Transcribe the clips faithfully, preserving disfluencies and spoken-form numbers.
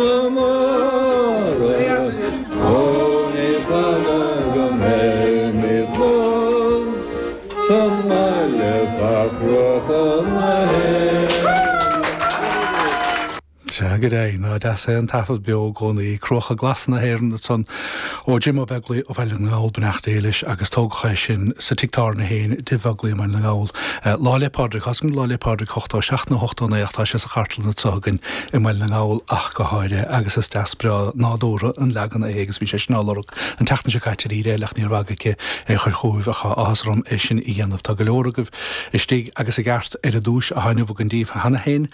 Mara Ó ní fada go mbeimid slán Sa mbaile fá chruacha na hÉireann. Sea go deimhin, nach deas é an taifead beo i gcónaí, Cruacha Glasa na hÉireann ansan ó Jim Ó Beaglaoi ó Bhaile na nGall, beannacht Dé leis, agus tógadh é sin sa tigh tábhairne féin i dTigh Bheaglaoí i mBaile na nGall. Lá 'le Pádraig, tá a fhios agam Lá 'le Pádraig ochtó seacht nó ochtó naoi ach tá sé sa chartlann anseo againn i mBaile na nGall ach go háirithe agus is deas breá nádúrtha an leagan é agus bhí sé sin á lorg an tseachtain seo caite ar Éire ach níor bhag aici é a chur chugaibh ach tá áthas orm é sin a dhéanamh. Tá go leor agaibh istigh agus i gceart ar an duais atá inniu againn daoibh cheana féin.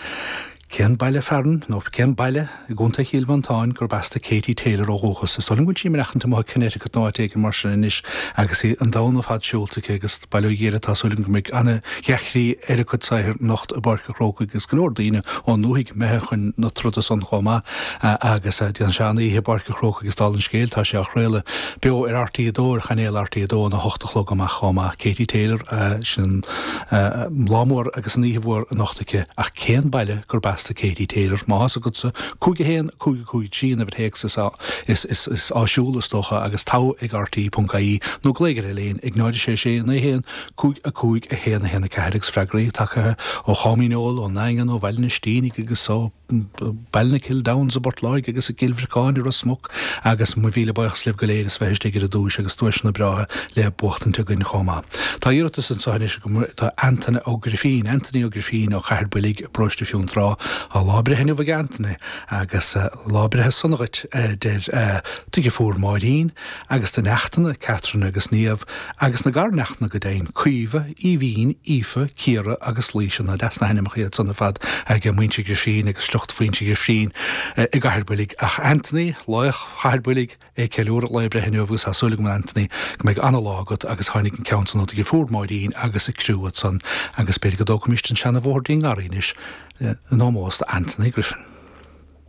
Cén baile fearainn, nó cén baile i gContae Chill Mhantáin gurb as do Katie Taylor ó dhúchas? Is dóigh liom go bhfuil sí ag maireachtaint amuigh i Connecticut nó áit éigin mar sin anois agus í an domhan ar fad siúlta aici agus bail ó Dhia uirthi, tá súil agam go mbeidh ana-dhea-chroí ar a cuid saothair anocht i bPáirc an Chrócaigh agus go leor daoine ón ndúthaigh imithe chun na troda san chomh maith agus déanfaidh sé an-oíche i bPáirc an Chrócaigh agus dála an scéil tá sé á chraoladh beo ar RTÉ a dó ar chainéal RTÉ a dó óna hocht a chlog amach chomh maith. Katie Taylor, sin an lá mór agus an oíche mhór anocht aici ach cén baile gurb as do Katie Taylor? Má tá a fhios agatsa, cúig a haon, cúig a cúig trí an uimhir théacs is is is áisiúla is dócha agus togha ag RTÉ ponc ie nó glaoigh ar an líne ag náid a sé sé naoi haon, cúig a cúig a haon a haon a ceathair agus freagraí tagtha ó Chom Dhíneol, ón nDaingean, ó Bhaile an Inistínigh agus ó Ballinakill Downs i bPort Láirge agus i gCill Bhriocáin i Ros Muc agus mo mhíle buíochas libh go léir as bheith istigh ar an duais agus duaiseanna breátha le buachtaint againn chomh maith. Tá iarratas anseo anois agam do Antaine Ó Grifín, Anthony Ó Grifín ó Chathair Builg i bparóiste Fionntrá. Tá lá breithe inniu ag Anthony agus lá breithe sona dhuit a deir do dheirfiúr Máirín agus do neachtanna Catherine agus Niamh agus na garneachtanna go deimhin, Caoimhe, Aoibhín, Aoife, Ciara agus Laoise. Nach deas na hainmneacha iad san ar fad ag muintir Ghrifín agus sliocht mhuintir Ghrifín i gCathair Builg. Ach Anthony, laoch Chathair Builg, é ag ceiliúradh a lae breithe inniu agus tá súil agam a Anthony go mbeidh ana-lá agat agus tháinig an ceann san ó do dheirfiúr Máirín agus a criú ansan agus b'fhéidir go dtógfaimis an seana-bhóthar dtí'n nGarraí anois in ómós do Anthony Griffin.